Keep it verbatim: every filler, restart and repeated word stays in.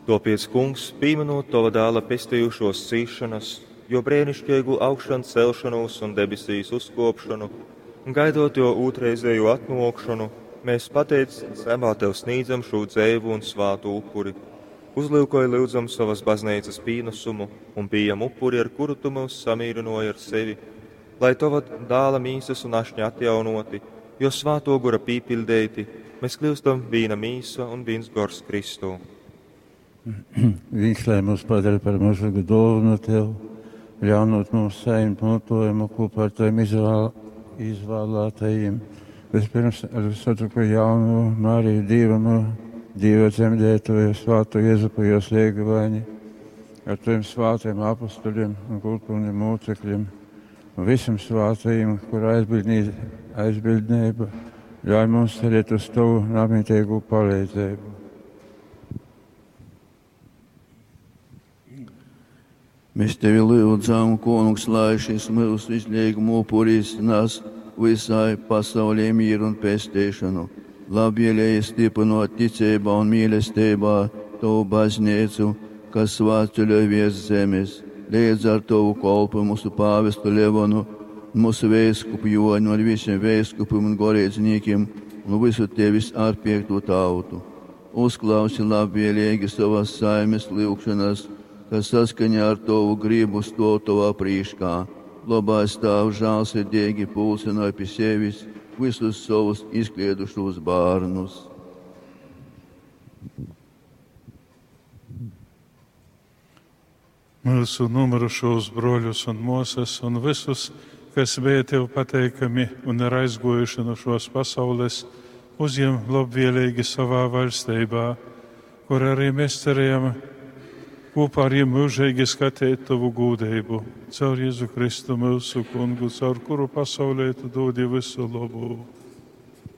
Tōpēc, Kungs, pīmynūt Tova Dāla pestejušōs cīsšonas, Jō breiniškeigū augšancelšonūs un debesīs uzkōpšonu, un gaidot Jō ūtrreizejū atnōkšonu, mēs pateicībā Tev snīdzam šū dzeivu un svātu upuri. Uzlyukoj, lyudzam, sovas bazneicas pīnasumu un pījem upuri, ar kuru Tu myus samīrynōji ar sevi, lai Tova Dāla mīsas un ašņa atjaunōti, Jo Svātō Gora pīpiļdeiti, mēs kļūstam vīna mīsa un vīns gors Kristū. Viņš lai mūs padara par mūžīgu dōvanu Tev, ļaunot mums saņemt montojumu kopā ar Taviem izvēl, izvēlētajiem. Vispirms ar visvacuāko jauno Mariju Dievamu, Dieva dzemdētoju, svāto Jezupu, jos liegavaini, ar Taviem svātajiem apustuļiem un kultūriem mocekļiem un visiem svātajiem, kur aizbildnība ļauj mums cerēt uz Tavu namitīgu palīdzību. Mēs tevi lūdzam, kungs, lai šis mūsu izlīguma upuris nes visai pasaulē mieru un pestīšanu. Labvēlīgi stiprinot ticībā un mīlestībā tavu baznīcu, kas svētceļoj virs zemes. Līdz ar tavu kolpu mūsu pāvestu Levonu, mūsu veiskupu Joni ar visiem veiskupiem un gorīdzniekiem un visu tevis atpiekto tautu. Uzklausi labvēlīgi savas saimes lūgšanas, kas saskaņā ar tavu gribu stāv tavā priekšā. Labais Tēvs žēlsirdīgi pulcināja pie sevis visus savus izkliedušos bērnus. Mūsu nomirušos broļus un mūsas un visus, kas bija tev pateikami un ir aizgojuši no šos pasaules, uzņem labvēlīgi savā valstībā, kur arī mēs cerējam kopā ar jiem mūžīgi skatīt tavu gūdību, caur Jēzu Kristu mūsu kungu, caur kuru pasaulē tu dodi visu labu.